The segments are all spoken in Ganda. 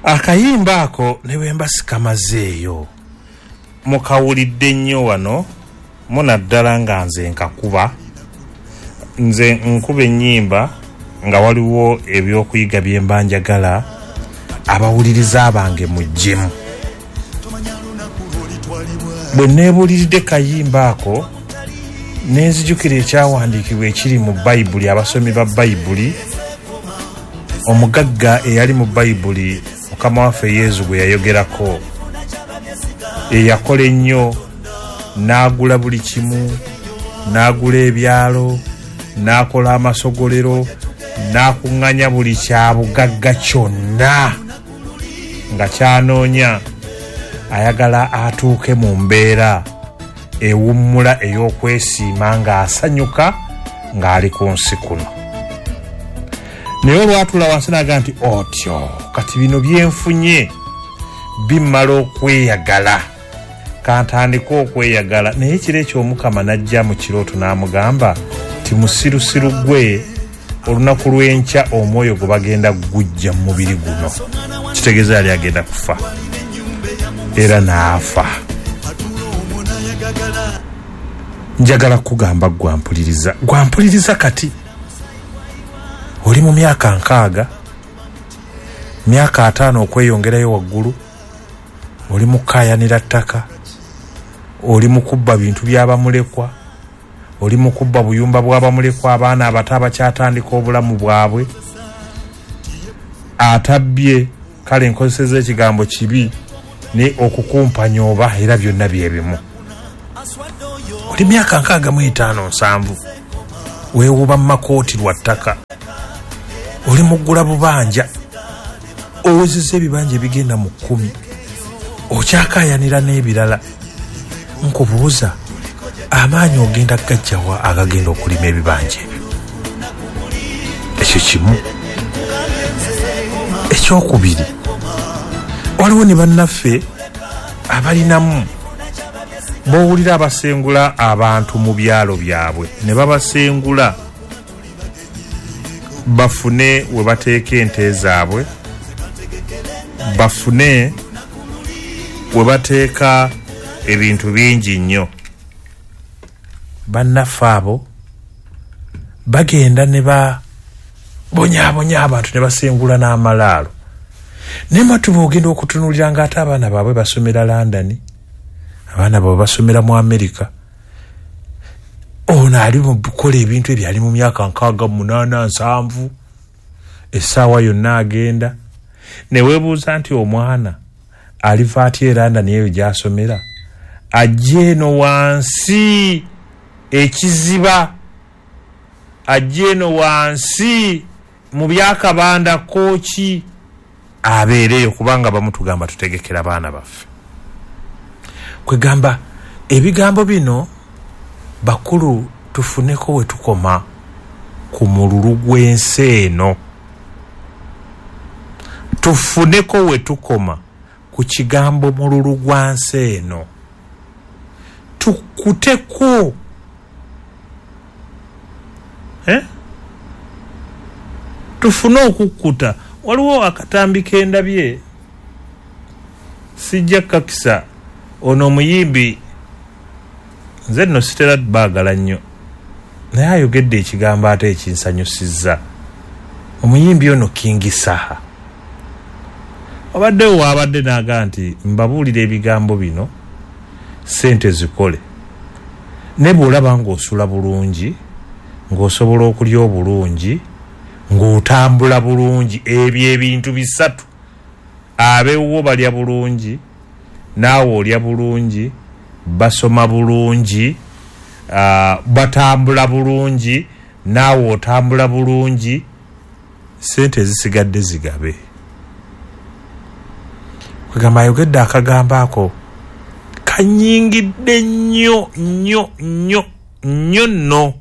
Akayimba ako ne bwe mba sikamazeeyo mukawulidde nnyo wano, munaddala nga nze nkakuba. Nze nkuba ennyimba nga waliwo ebyokuyiga bye mba njagala abawuliriza bange muggyemu. Bwe neebuuliridde kayimba ako ne nzijukira ekyawandiikibwa ekiri mu Bayibuli, abasomi ba Bayibuli, omugagga eyali mu Bayibuli Mukama waffe Yesu gwe yayogerako, eyakola ennyo n'agula buli kimu, n'agula ebyalo, n'akola amasogolero, n'akuŋŋanya buli kyabugagga kyonna nga kyanoonya, ayagala atuuke mu mbeera ewummula ey'okwesiima ng'asanyuka ng'ali ku nsi kuno. Naye olwatuula wansi n'agamba nti otyo kati bino byenfunye bimmala okweyagala, kantandike okweyagala. Naye ekiro ekyo Omukama n'ajja mu kirooto n'amugamba nti musirusiru gwe, olunaku lw'enkya omwoyo gwe bagenda gujja mu mubiri guno. Kitegeeza yali agenda kufa, era n'afa. Njagala kugamba gwampuliriza, gwampuliriza kati oli mu myaka 60, myaka 50 okweyongerayo waggulu, oli mu kukaayanira ttaka, oli mu kubba bintu by'abamulekwa, oli mu kubba buyumba bw'abamulekwa, abaana abato abakyatandika obulamu bwabwe, atabbye, kale nkozesezza ekigambo kibi, ne okukumpanya oba era byonna bye bimu. Oli myaka 65, 70, weewuba mu makooti lwa ttaka, oli muggula bubanja, owezezza ebibanja ebigenda mu 10, okyakaayanira n'ebirala. Nkubuuza, amaanyi ogenda gajjawa agagenda okulima ebibanja ebyo? Ekyo kimu. Ekyokubiri, waliwo ne bannaffe abalinamu b'owulira abasengula abantu mu byalo byabwe, ne babasengula bafune we bateeka ente zaabwe, bafune we bateeka ebintu bingi nnyo. Bannaffe abo bagenda ne babonyaabonya abantu ne basengula n'amalaalo. Naye matuba ogenda okutunuulira ng'ate abaana baabwe basomera London, abaana baabwe basomera mu Amerika. Ono ali mu kukola ebintu ebyo ali mu myaka 68, 70, essaawa yonna agenda. Ne weebuuza nti omwana aliva atya e London eyo gy'asomera, ajja eno wansi ekiziba, ajja eno wansi mu byakabanda kooki, abeereyo, kubanga bamutugamba tutegekera baana baffe. Kwegamba ebigambo bino bakulu tufuneko we tukoma ku mululu gw'ensi eno, tufuneko we tukoma ku kigambo mululu gwa nsi eno, tukuteko tufune okukkuta. Waliwo akatambi kendabye, sijja kakisa, ono omuyimbi nze nno sitera baagala nnyo, naye ayogedde ekigambo ate ekinsanyusizza. Omuyimbi ono King Saha obaddewo waabadde n'agaa nti mbabuulira ebigambo bino ssente zikole, ne bw'olaba ng'osula bulungi, ng'osobola okulya obulungi, ng'otambula bulungi, ebyo ebintu bisatu, abeewuwo balya bulungi, naawe olya bulungi, basoma bulungi, batambula bulungi, naawe otambula bulungi, ssente ezisigadde zigabe. Kwegamba ayogedde akagambo ako kanyingidde nnyo nnyo nnyo nnyo nno.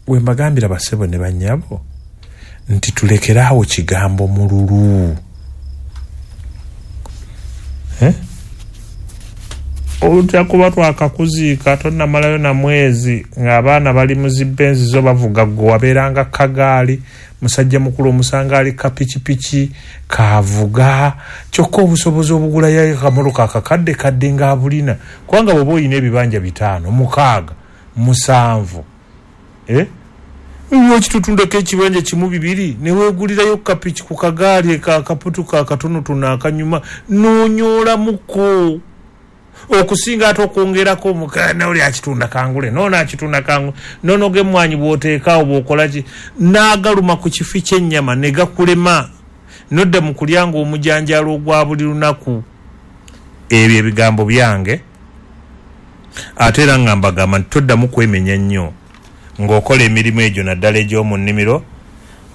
We mbagambira bassebo ne bannyabo nti tulekeraawo kigambo mululu. Ojja kuba twakakuziika tonnamalayo na mwezi ng'abaana bali mu zibbenzi zo bavuga gwe wabeeranga kagaali, musajja mukulu omusanga ali kapikipiki kavuga, kyokka obusobozi obugulayo akamotoka akakadde kadde ng'abulina, kubanga bw'oba olina ebibanja 5, 6, 7 okitutundako ekibanja 1 2 ne weegulirayo kapiki ku kagaali akaputuka akatonotono akanyuma n'onyoolamuko okusinga ate okwongerako omukana oli akitunda kangule nono akitunda kangule nonoga emmwanyi bw'oteekaawo bw'okola ki n'agaluma ku kifi ky'ennyama ne gakulema nodda mu kulya ng'omujanjaalo ogwa buli lunaku. Ebyo ebigambo byange, ate era nga mbagamba nti toddamu kwemenya nnyo ng'okola emirimu egyo naddala egy'omu nnimiro,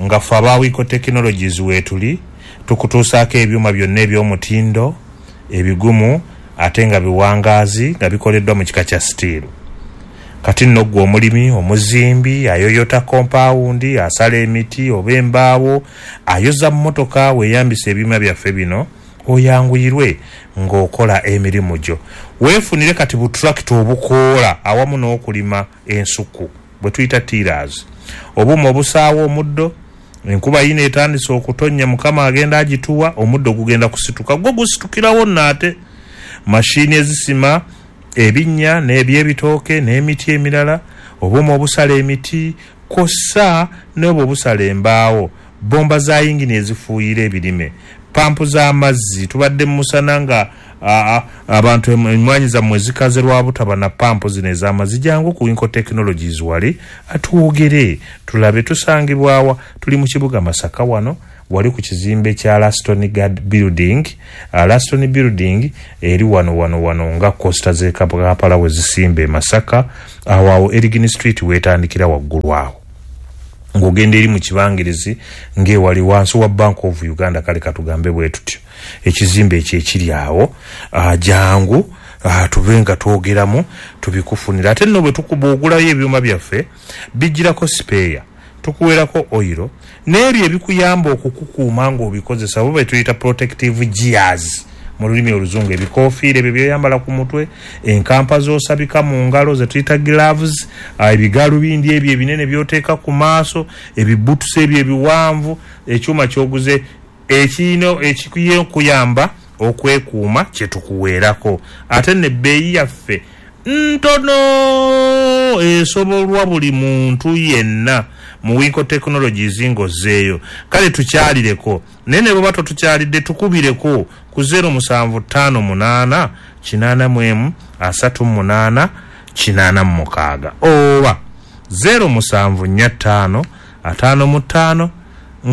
nga ffe aba Winco Technologies weetuli tukutuusaako ebyuma byonna eby'omutindo ebigumu ate nga biwangaazi nga bikoleddwa mu kika kya sitiiru. Kati nno ggwe omulimi, omuzimbi, ayoyota kompaawundi, asala emiti oba embaawo, ayoza mmotoka, weeyambisa ebyuma byaffe bino oyanguyirwe ng'okola emirimu gyo. Weefunire kati butulakita obukoola awamu n'okulima ensuku bwe tuyita tillers, obuuma obusaawa omuddo. Enkuba yino etandise okutonnya, Mukama agenda agituwa, omuddo gugenda kusituka, gwo gusitukirawo nno. Ate mashini ezisima ebinnya n'ebyebitooke n'emiti emirala, obuuma obusala emiti kw'ossa n'obwo obusala embaawo, bomba za yingini ezifuuyira ebirime, pampu z'amazzi. Tubadde mu musana nga abantu emmwanyi zammwe zikaze lwa butaba na pampu zino ez'amazzi. Jangu ku Winco Technologies wali atwogere tulabe tusangibwawa. Tuli mu kibuga Masaka wano wali ku kizimbe kya Laston Guard Building. Laston Building eri wano wano wano nga costa z'e Kampala we zisimba e Masaka, awo awo Erigin Street weetandikira waggulu awo ng'ogenda eri mu kibangirizi ng'ewali wansi wa Bank of Uganda, kale katugambe bwe tutyo ekizimbe ekyo ekiri awo. Jangu tube nga twogeramu tubikufunira. Ate nno bwe tukuba ogulayo ebyuma byaffe bijjirako sipeeya, tukuweerako oyiro n'ebyo ebikuyamba okukukuuma ng'obikozesa, oba bwe tuyita protective gears mu lulimi oluzungu, ebikoofiira ebyo by'oyambala ku mutwe, enkampa z'osabika mu ngalo ze tuyita gloves, ebigalubindi ebyo ebinene by'oteeka ku maaso, ebibutusi ebyo ebiwanvu, ekyuma ky'oguze ekirina ekikuyamba okwekuuma kye tukuweerako. Ate n'ebbeeyi yaffe ntono esobolwa buli muntu yenna mu Winco Technologies ng'ozzeeyo. Kale tukyalireko, naye ne bw'oba totukyalidde tukubireko ku 0758 81 38 86 oba 0745 55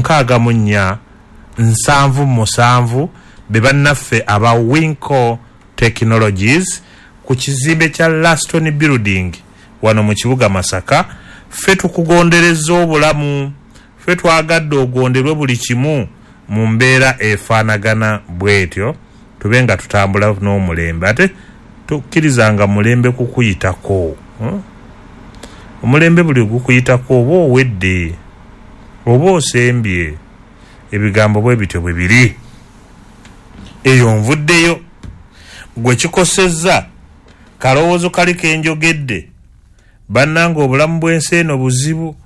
64 77 be bannaffe aba Winco Technologies ku kizimbe kya Laston Building wano mu kibuga Masaka. Ffe tukugondereza obulamu, ffe twagadde ogonderwe buli kimu mu mbeera efaanagana bw'etyo, tube nga tutambula n'omulembe. Ate tukkirizanga mulembe kukuyitako. Omulembe buli gukuyitako oba owedde oba osembye. Ebigambo bwe bityo bwe biri. Eyo nvuddeyo gwe kikosezza kalowoozo kali kenjogedde. Bannange obulamu bw'ensi eno buzibu,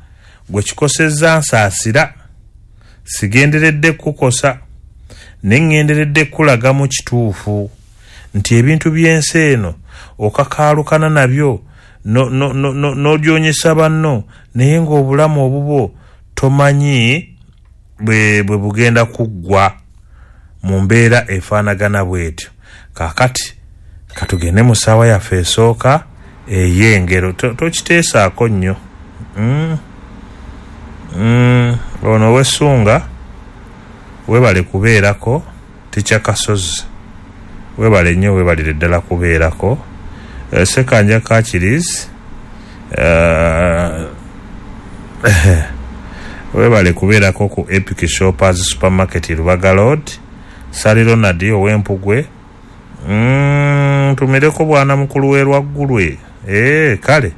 gwe kikosezza nsaasira, sigenderedde kukosa, ne ŋŋenderedde kulagamu kituufu nti ebintu by'ensi eno okakaalukana nabyo n'ogyonyesa banno, naye ng'obulamu obubwo tomanyi bwe bugenda kuggwa mu mbeera efaanagana bw'etyo. Kaakati katugende mu ssaawa yaffe esooka ey'engero. Tokiteesaako nnyo. Ono ow'essunga weebale kubeerako, Tikya Kasozi weebale nnyo, weebalire ddala kubeerako. Ssekanja Kakirizi weebale kubeerako ku Epic Shoppers Supermarket Lubaga Road. Sali Ronald ow'Empugwe, ntumireko bwana mukulu w'Erwaggulwe. Kale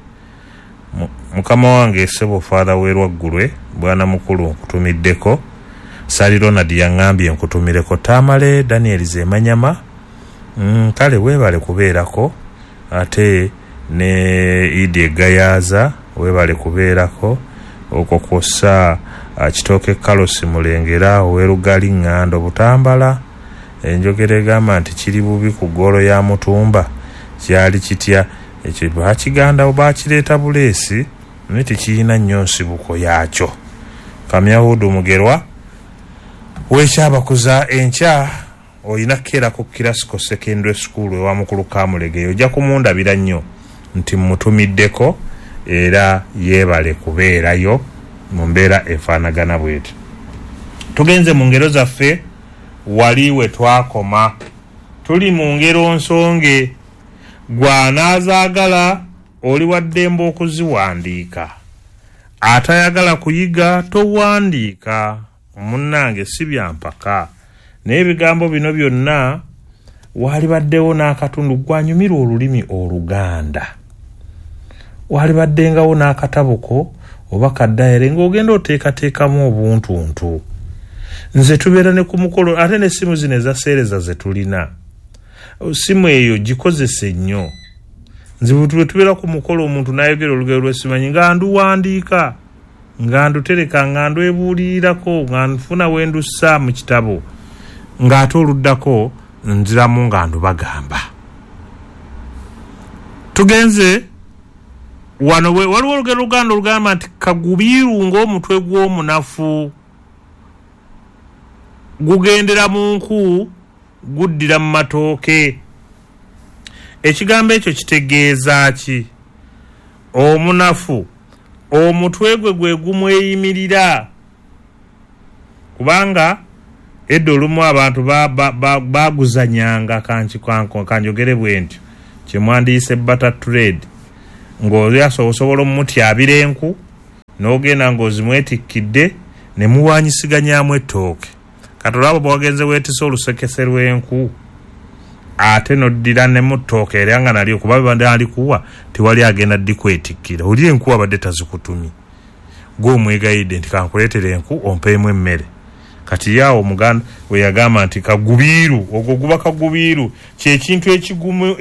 mukama wange ssebo Father w'Erwaggulwe bwana mukulu nkutumiddeko. Sali Ronald yaŋŋambye nkutumireko. Tamale Daniel Zemanyama Kale weebale kubeerako, ate ne Idi Egayaza weebale kubeerako, okwo kwossa Kitooke Kalosi Mulengera owerugali Ŋŋando Butambala. Enjogera egamba nti kiri bubi ku ggoolo ya mutumba kyali kitya? Ekyo bakiganda bakireeta buleesi naye tekirina nnyo nsibuko yaakyo. Kamyahudu Mugerwa wekyabakuza enkya olina kukeera ku Kirasco Secondary School ewa mukulu Kamulegeya, ojja kumundabira nnyo nti mmutumiddeko era yeebale kubeerayo mu mbeera efaanagana bweti. Tugenze mu ngero zaffe wali we twakoma, tuli mu ngero nsonge. Gw'anaazaagala oli wa ddembe okuziwandiika, atayagala kuyiga towandiika. Munnange si bya mpaka, naye ebigambo bino byonna waalibaddewo n'akatundu gwanyumirwa olulimi Oluganda, waalibaddengawo n'akataboko oba kaddayire ng'ogenda oteekateekamu obuntuntu. Nze tubeera ne ku mukolo, ate n'essimu zino eza seereza ze tulina, simu eyo gikozese nnyo. Nze bwe tubeera ku mukolo omuntu n'ayogera olugero lw'esimanyi nga nduwandiika, nga ndutereka, nga ndwebuulirirako, nga nfuna we ndussa mu kitabo, ng'ate oluddako nziramu nga ndubagamba. Tugenze wano, waliwo olugero Luganda olugamba nti kagubiiru ng'omutwe gw'omunafu gugendera mu nku guddira mu matooke. Ekigambo ekyo kitegeeza ki? Omunafu omutwe gwe gwe gumweyimirira, kubanga edda olumu abantu baguzanyanga kanjogere bwe ntyo kyemwandiyise barter trade, ng'osobola omumutyabira enku n'ogenda ng'ozimwetikkidde ne muwaanyisiganyaamu ettooke. Kati olaba bw'ogenze weetise olusekese lw'enku ate n'oddira ne mu ttooke era nga nalyo kuba bibadde alikuwa tewali agenda ddikwetikkira, oli enku abadde tazikutumye, gwe omwegayidde nti kankuleetere enku ompeemu emmere. Kati yaawo Omuganda we yagamba nti kagubiiru, ogwo guba kagubiiru, kyekintu ekigumu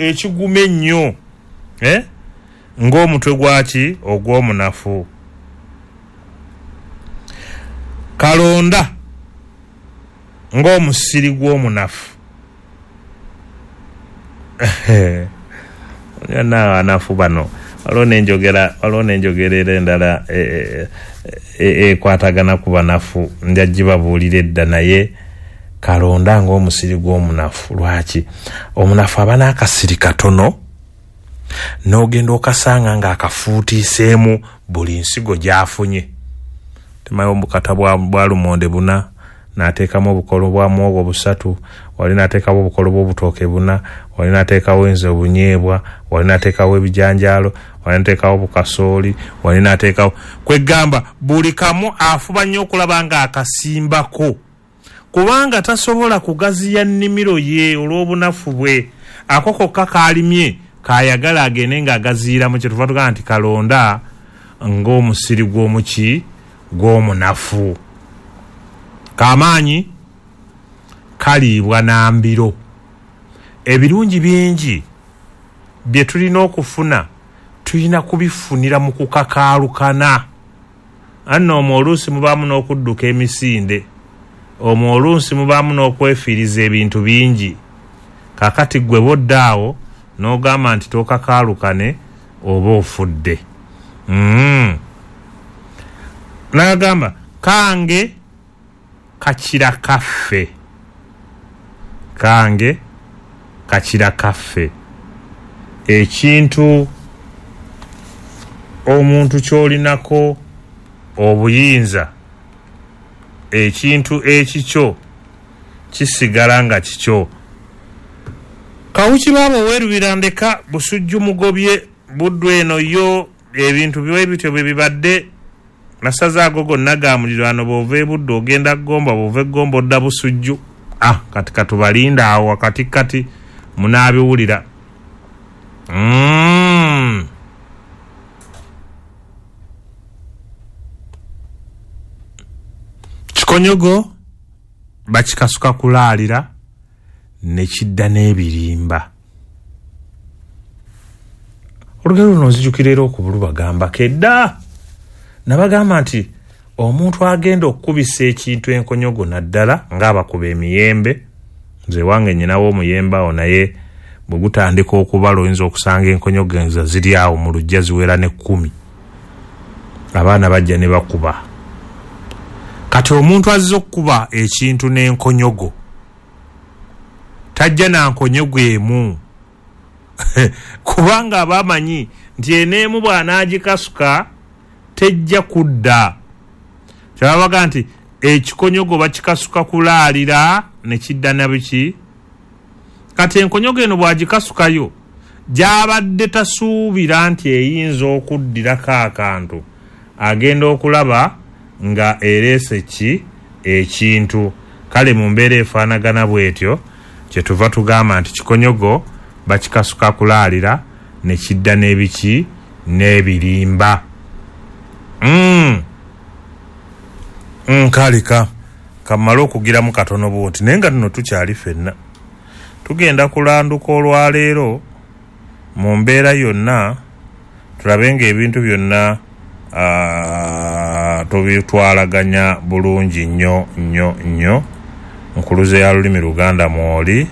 ennyo ng'omutwe gwaki ogw'omunafu. Kalonda ng'omusiri gw'omunafu. Abanafu bano waliwo n'enjogera era endala ekwatagana ku banafu, nja gibabuulira edda, naye kalonda ng'omusiri gw'omunafu. Lwaki? Omunafu aba n'akasiri katono n'ogenda okasanga ng'akafuutiiseemu buli nsigo gy'afunye. Temayo obukata bwa lumonde buna, n'ateekamu obukolo bwa muwogo busatu, wali n'ateekawo obukolo bw'obutooke buna, wali n'ateekawo enze obunyeebwa, wali n'ateekawo ebijanjaalo, wali n'ateekawo obukasooli, wali n'ateekawo kwegamba buli kamu afuba nnyo okulaba ng'akasimbako, kubanga tasobola kugaziya nnimiro ye olw'obunafu bwe. Ako kokka kaalimye kayagala agende ng'agaziiramu, kye tuva tugamba nti kalonda ng'omusiri gw'omuki gw'omunafu. Kamaanyi kaliibwa na mbiro. Ebirungi bingi bye tulina okufuna tulina kubifunira mu kukakaalukana. Anno omwo oluusi mubaamu n'okudduka emisinde, omwo oluusi mubaamu n'okwefiiriza ebintu bingi. Kaakati ggwe bw'odda awo n'ogamba nti tookakaalukane oba ofudde. N'agamba kange kakira kaffe, kange kakira kaffe. Ekintu omuntu ky'olinako obuyinza, ekintu ekikyo kisigala nga kikyo. Kawuki baaba owerubira ndeka Busujju mugobye Buddu eno yo ebintu bwe bityo bwe bibadde. Masaza ago gonna ga muliraano, bw'ova e Buddu ogenda Ggomba, bw'ova e Ggomba odda Busujju. Kati katubalinda awo wakati kati munaabiwulira. Kikonyogo bakikasuka kulaalira ne kidda n'ebirimba. Olugero luno nzijukira era okubulubagambako edda, nabagamba nti omuntu agenda okukubisa ekintu enkonyogo naddala ng'abakuba emiyembe, nze wange nnyinawo omuyembe awo, naye bwe gutandika okubala oyinza okusanga enkonyogo enza ziri awo mu luggya ziwera ne 10, abaana bajja ne bakuba. Kati omuntu azze okukuba ekintu n'enkonyogo tajja na nkonyogo emu kubanga aba amanyi nti eneemu bw'anaagikasuka tejja kudda. Kyababaga nti ekikonyogo bakikasuka kulaalira ne kidda na biki. Kati enkonyogo eno bw'agikasukayo gy'abadde tasuubira nti eyinza okuddirako akantu, agenda okulaba nga ereese ki ekintu. Kale mu mbeera efaanagana bw'etyo kyetuva tugamba nti kikonyogo bakikasuka kulaalira ne kidda n'ebiki n'ebirimba. Nkaleka kamale okugiramu katono bwoti, naye nga tuno tukyali ffenna tugenda kulanduka olwaleero mu mbeera yonna, tulabe ng'ebintu byonna tubitwalaganya bulungi nnyo nnyo nnyo. Nkuluze ya lulimi Luganda mwoli.